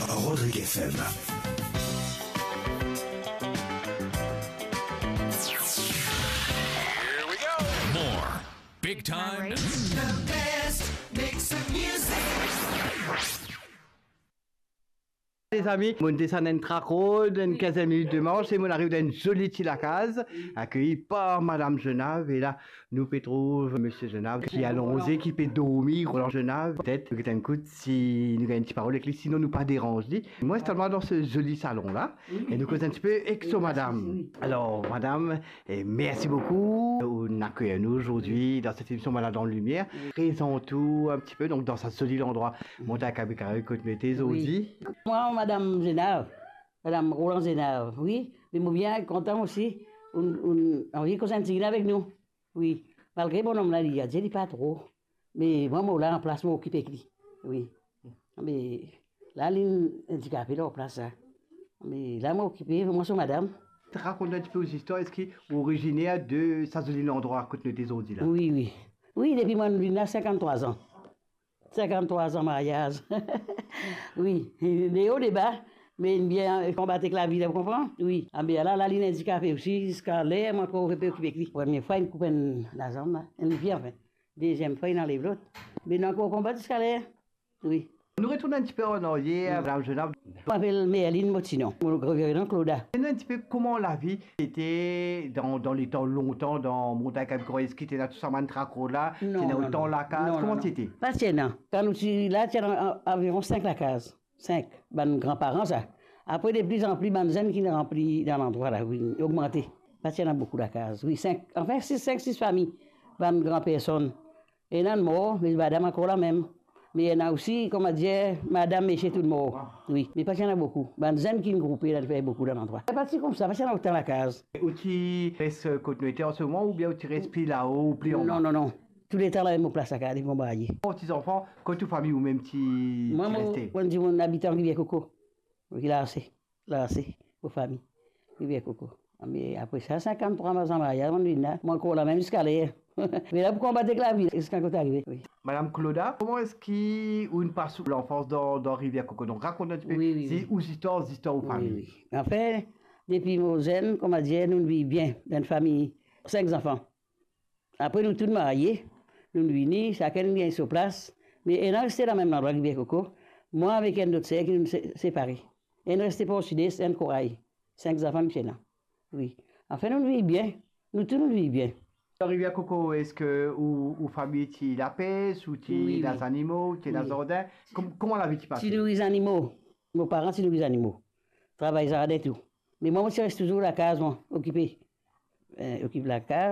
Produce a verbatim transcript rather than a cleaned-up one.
Rodrigue F M. More big time. The best mix of music. Lezami, mo desann enn Track Road, enn kinzenn minit de mars, e mo ariv dan enn zoli ti lakaz, akeyi par Madam Zenave, e la, nou pe trouv Misie Zenave ki alonze, ki pe dormi, Roland Zenave. Petet nou get enn kout si nou gagn enn ti parol ek li, sinon nou pa deranz li. Mo instal mwa dan se zoli salon la, e nou koz enn tipe ek so madam. Alor, madam, e mersi boukou. Ou akeyi nou azordi dan set emision Malad an Limier. Prezant ou enn tipe, donk, dan sa zoli landrwa, Montagn Kabi Kari, kot nou ete azordi. Mwa, Madam Zenave, Madam Roland Zenave, wi. Me mo bien kontan osi, ou, ou anvi koz enn tigit avek nou. Wi, malgre bonom la, li aze, li pa tro. Me mwa, mo la anplas, mo okipe ek li. Wi. Me la, li indikape lor plas la. Me la, mo okipe, mwa so madam. Rakont enn tipe ou zistwar, eski ou oriziner de sa zoli landrwa kot nou ete zordi la? Wi, wi. Wi, depi mwa vinn la, sinkant-trwa an. Sinkant-trwa an maryaz. Wi, de o, de ba, me inn bien konbat ek lavi la, ou konpran? Wi, a be la, la, li indikape osi, ziska ler, mwa ankor pe okipe ek li. Premie fwa, inn koup enn lazanm la, enn lipie, anfin. Deziem fwa, inn anlev lot. Me nou ankor konbat ziska ler. Wi. Nou retourn enn tipe an aryer, Madam Zenave. Mo apel Merline Motinon, mo reviv dan Clauda. Donn nou enn tipe kouma lavi ete dan, dan letan lontan, dan Montagn Kabi Kari, eski ti ena tou sa bann Track Road la, ti ena otan lakaz, kouma ti ete? Pa ti ena. Kan nou ti la, ti ena a-, aviron sink lakaz. Sink, bann granparan sa. Apre, de pli an pli, bann zenn ki ranpli dan landrwa la, wi, ogmante. Pa ti ena boukou lakaz. Wi, sink, anfin, sis, sink, sis fami, bann gran personn. Ena mor, me madam ankor lamem. Me ena osi, kouma dir, madam, misie, tou mor. Wi, me pa ti ena boukou. Bann zenn ki groupe la, fer boukou dan landrwa. Pa ti koumsa, pa ti ena otan lakaz. Ou ti res kot nou ete an se moman, oubien ou ti res pli lao, ou pli anba? Non, non, non. Touletan lamem mo plas la, gade mo marye. Ou ti zanfan, kot ou fami ou mem ti, ti reste? Mwa, mo, mo dimoun abitan Rivier Koko. Wi, la ase, la ase, mo fami. Rivier Koko. Me apre sa, sinkant-trwa an maryaz, mo vinn la, mo ankor lamem ziska ler. Me la pou konbat ek lavi, ziska kot arive, wi. Madam Clauda, kouma eski ou inn pas ou lanfans dan, dan Rivier Koko? Donk, rakont enn tipe, wi, wi, si, wi, ou zistwar, zistwar ou fami. Wi, wi. Anfin, depi mo zenn, kouma dir, nou viv bien, dan enn fami, sink zanfan. Apre, nou tou marye, nou vini, sakenn gagn so plas, me ena reste dan mem landrwa, Rivier Koko, mwa avek enn lot ser ki nou se-, separe. Enn reste Port Sud-Est, enn Koray. Sink zanfan nou ti ena. Wi. Anfin, nou viv bien. Nou tou nou viv bien. Dan Rivier Koko, eski ou, ou fami ti lapes, ou ti, wi, wi, ena zanimo, ou ti ena, wi, zardin? Kom-, kouma lavi ti pase? Ti nouri zanimo. Mo paran ti nouri zanimo. Travay zardin tou. Me mwa, mo ti res touzour lakaz, mwa, okipe. Eh, okip lakaz.